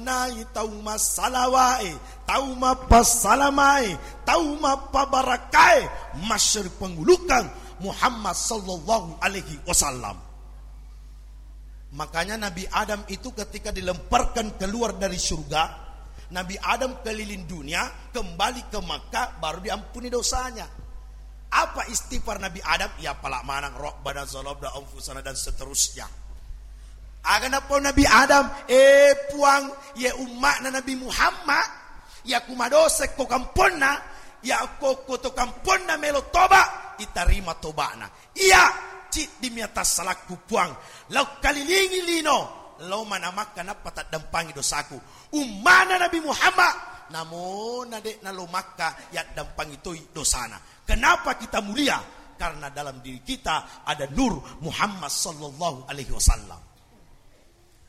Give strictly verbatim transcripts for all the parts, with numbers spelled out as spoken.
Nai tau massalawae, tau mappassalamae, tau mappabarakae, masseri pangulukang Muhammad sallallahu alaihi wasallam. Makanya Nabi Adam itu ketika dilemparkan keluar dari surga, Nabi Adam keliling dunia, kembali ke Makkah, baru diampuni dosanya. Apa istighfar Nabi Adam? Ya pala manang, "Rabbana zalamna anfusana," dan seterusnya. Aga napau Nabi Adam, "Eh Puang, ye umma'na Nabi Muhammad, ya kumadose ko kamponna, ya ko, ko to kamponna melo toba, itarima toba'na. Iya, ciddi mia tassalakku Puang, lau kalilingi lino, lau mana Makkah nappa taddampangi dosaku. Umma'na Nabi Muhammad, namona de'na lo Makkah, yaddampangi toi dosana." Kenapa kita mulia? Karena dalam diri kita ada nur Muhammad sallallahu alaihi wasallam.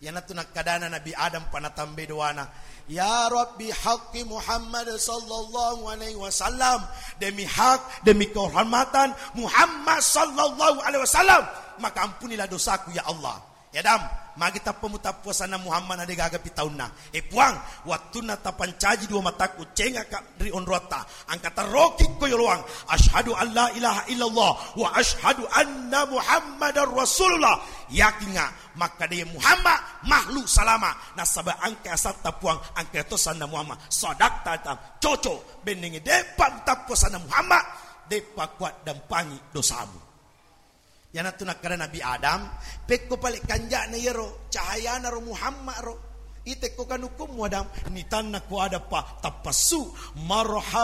Iyanatu nakkadana Nabi Adam pa natambai doana, "Ya Rabbi, haqqi Muhammad sallallahu alaihi wasallam, demi hak, demi kehormatan Muhammad sallallahu alaihi wasallam, maka ampunilah dosaku ya Allah." Ya Adam, magi tappa mutappuasanna Muhammad na degaga pi taunna? Eh Puang, wattunna tapancaji dua mataku, cengaka ri onroatta, angka tarroki ko yoloang, "Asyhadu an la ilaha illallah wa asyhadu anna Muhammadar Rasulullah." Yakinga makkeda Muhammad makhluk salama, nasaba engka asatta Puang, engka to sanna Muhammad. Sadaqta tam, cocok. Bennengnge de'pa mutappuasanna Muhammad, de'pa kuaddampangi dosamu. Iyanatu nakkeda Nabi Adam, pekko pale kanja'na iyaro, cahayana ro Muhammad ro. Itekko kanukummu Adam, nitanna ko ada pa tappassu, marhaba